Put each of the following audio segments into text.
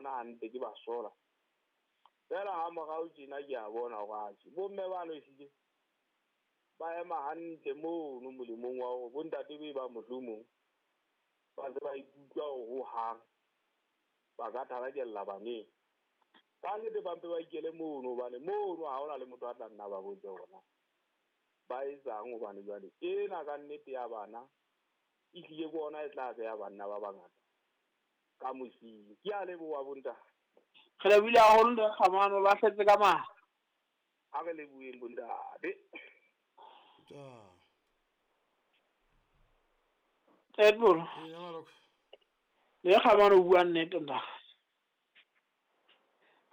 bona hantle, ke ba sola. Fela ha morao tjena ke a bona hore atjhe, bomme bano ehlile ba ema hantle mono molemong wa hore bontate be ba mohlomong ba se ba ikutlwa hore hohang ba ka tharakella baneng. Ka nnete ba mpe ba ikele mono, hobane mono ha hona le motho a tla nna ba botse hore ba etsang, hobane jwale ena ka nnete ya bana e hlile ke ona e tla beha banna ba bangata ka mosing. Ke a leboha bontate. Re lebohile haholo ntate Kgamane, o lahletse ka matla. Ha re leboheng bontate. Edmond. Le Kgamane o bua nnete ntate.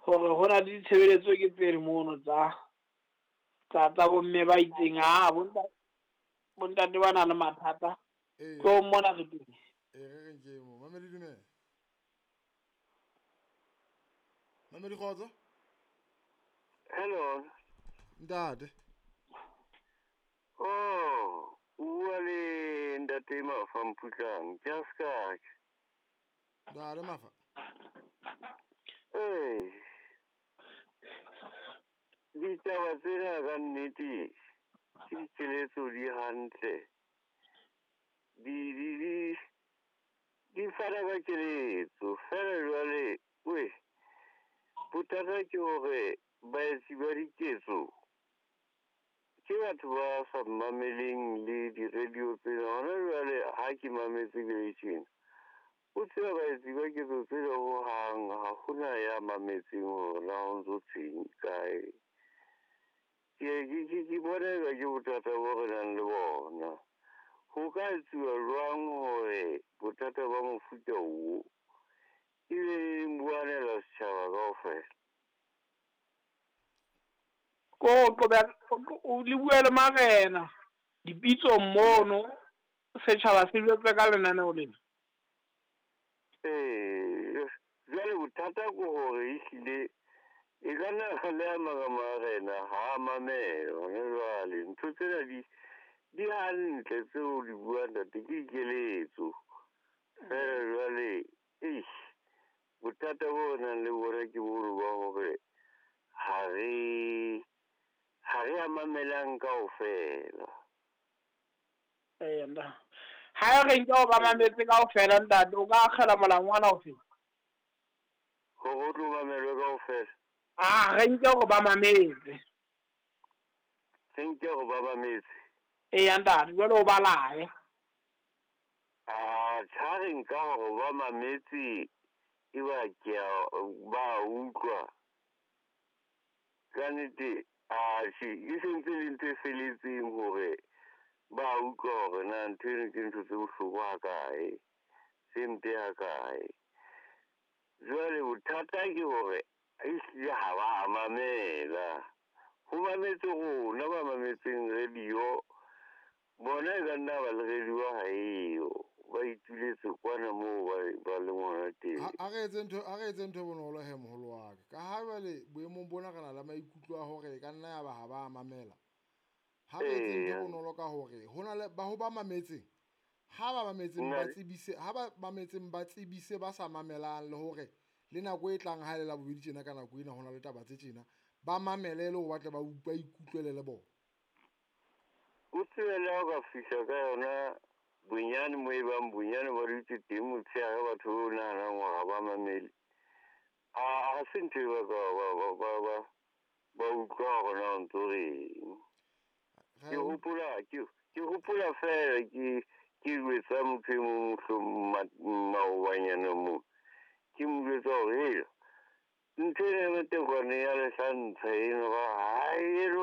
Hore ho na le ditshebeletso ke tsele mono tsa tsa bomme ba itseng, ha bontate ba na le mathata. Tlo mona re teng. Re reng ke mo. Mamedi dumela. Mamedi kgotso. Hello. Ntate. Oh, o bua le ntate Mafa Mputlang, just ka. Ntate Mafa. Eh. Ditaba tsena ka nnete ke dikeletso di hantle. Di fana ka keletso fela jwale we bothata ke hore baetsi ba diketso ke batho ba sa mameleng le di-radio tsena. Hona jwale ha ke mametse ke tjena, o tseba baetsi ba ketso tsena hohang ha hona ya mametseng hore na ho ntso thweng kae. Ke bona eka ke bothata bo re nang le bona. Ho ka etsuwa jwang hore bothata ba mofuta oo ebe buanela setjhaba kaofela? Ko qoba o le bua le marena dipitsong mono, setjhaba se jwetse ka lenaneo lena. Jwale bothata ke hore ehlile e ka nna le a mang a marena ha a mamela hona jwale. Ntho tsena di hantle tseo di buang ntate, ke dikeletso. Fela jwale eish, bothata bo re nang le bona ke bono ba hore ha re a mamelang kaofela. Nda. Ha re nke o ba mametse kaofela ntate, o ka akgela molangwana ofe? Hore o tlo mamelwe kaofela. Ah, re nke hore ba mametse. Re nke hore ba mametse. Eya ntate, jwale o ba lae. Ah, ha re nka hore ba mametse e ba ke ba utlwa. Ka nnete, atjhe, e sentse le ntho e felletseng hore ba utlwa hore na ntho eno ke ntho tse bohloko hakae, tse mpe hakae. Jwale bothata ke hore ehlile ha ba mamela. Ho mametse rona ba mametseng radio, bona e ka nna ba le radio ha eyo, ba ituletse kwana moo ba leng hona teng. A re etse ntho e bonolo he moholo wa ka. Ka ha jwale boemong bona re na le maikutlo a hore e ka nna ya ba ha ba mamela. Ha re etse ntho e bonolo ka hore ho na le ba ho ba mametseng, ha ba mametseng ba tsebise, ha ba mametseng ba tsebise ba sa mamelang, le hore le nako e tlang ha e le la bobedi tjena ka nako ena ho na le taba tse tjena, ba mamele le hore ba tle ba ikutlwele le bona. O tsebe le ha o ka fihla ka yona bonyane mo e bang bonyane ba dutse teng motshehare batho o nahanang hore ha ba mamele. Ha se ntho e ba ka ba utlwa hore na o ntso reng. Ke hopola fela ke jwetsa motho e mong mohlomong maobanyana moo. Ke mo jwetsa hore hela ntho ena ya matekwane ya lehlantsha eno ha eno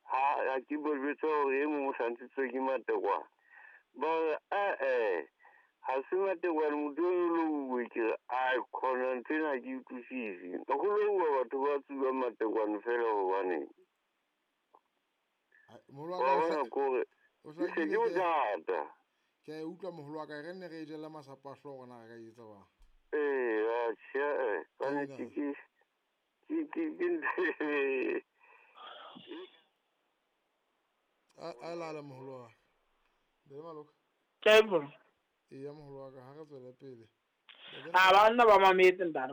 ha ke bo jwetsa hore e mong o hlantshitswe ke matekwane. Ba re ae ha se matekwane motho eno o louwe. Ke re ai khona ntho ena ha ke utlwisise. Ho louwa batho ba tsubang matekwane fela hobaneng? Moholo wa ka o ke bothata. Ke a utlwa moholo wa ka, re nne re e jella masapo a hlooho na re ka etsa bang. Atjhe, ka nnete ke A lala moholo wa ka. Be maloka. Ke bona. Eya moholo wa ka, ha re tswele pele. A banna ba mametse ntate.